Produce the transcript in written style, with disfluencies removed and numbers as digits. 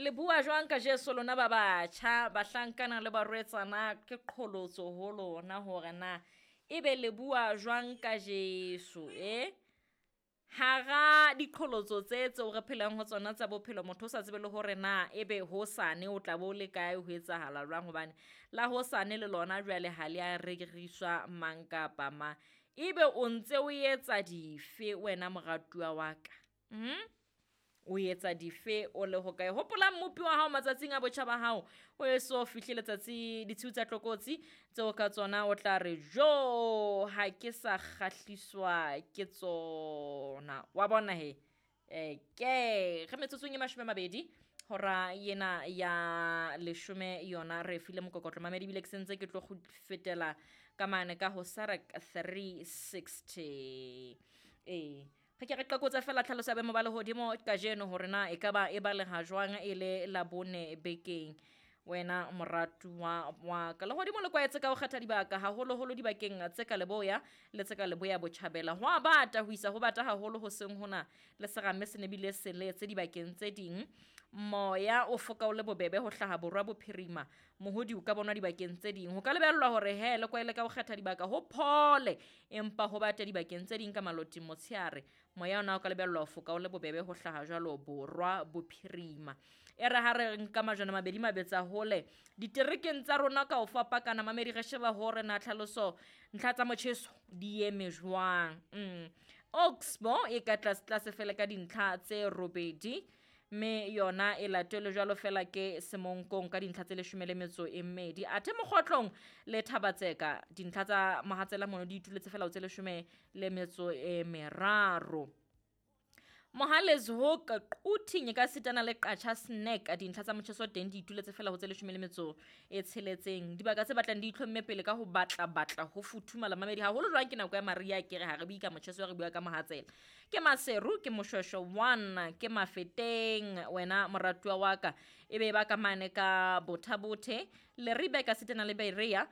Le bua jwang ka Jesu lona ba batjha, bahlankana le barwetsana? Ke qholotso ho lona hore na ebe le bua jwang ka Jesu, e? Hara diqholotso tse tseo re phelang ho tsona tsa bophelo, motho o sa tsebe le hore na ebe hosane o tla bo le kae, ho etsahala jwang, hobane la hosane le lona jwale ha le a reriswa mang kapa mang. Ebe o ntse o etsa dife wena moratuwa wa ka? O etsa dife o le hokae? Hopola Mmopi wa hao matsatsing a botjha ba hao, o eso fihle letsatsi ditshiu tsa tlokotsi tseo ka tsona o tla re jo ha ke sa kgahliswa ke tsona. Wa bona he? Ke re metsotsong e 20 hora yena ya 10 yona re file mokokotlo mamedi, ebile ke sentse ke tlo fetela ka mane ka ho Sarak 360. Ee, re ke re qakotse fela tlhaloso ya boemo ba lehodimo kajeno hore na e ka ba e baleha jwang e le Labone bekeng. Wena moratuwa wa ka, lehodimo le kwaetse ka ho kgetha dibaka, haholoholo dibakeng tse ka leboya le tse ka leboya botjhabela. Ho a bata ho isa ho bata haholo hoseng hona, le serame se ne bile se letse dibakeng tse ding. Moya o foka o le bobebe ho hlaha borwa bophirima, mohodi o ka bonwa dibakeng tse ding. Ho ka lebellwa hore he le kwaele ka ho kgetha dibaka ho phole, empa ho bate dibakeng tse ding ka maloting motshehare. Moya ona o ka lebellwa ho foka o le bobebe ho hlaha jwalo borwa bophirima. E re ha re nka majwana mabedi mabetsa hole diterekeng tsa rona ka ho fapakana mamedi, re sheba hore na tlhaloso ntlha tsa motjheso di eme jwang. Oxbow e ka tlase tlase fela ka dintlha tse 8, mme yona e latelwe jwalo fela ke Semonkong ka dintlha tse 12. Athe Mokgotlong le Thabatseka dintlha tsa mohatsela mono di ituletse fela ho tse 13. Mohale's Hoek, Quthing e ka sitana le Qacha Snack, dintlha tsa motjheso teng di ituletse fela ho tse 16. Dibaka tse batlang di itlhomme pele ka ho batla batla ho futhumala mamedi, haholo jwang ke nako ya mariha, ke re ha re bue ka motjheso, re bua ka mohatsela. Ke Maseru, ke Moshweshwe 1, ke Mafeteng, wena moratuwa wa ka, ebe ba ka mane ka Botha-Bothe, Leribe ka sitana le Berea.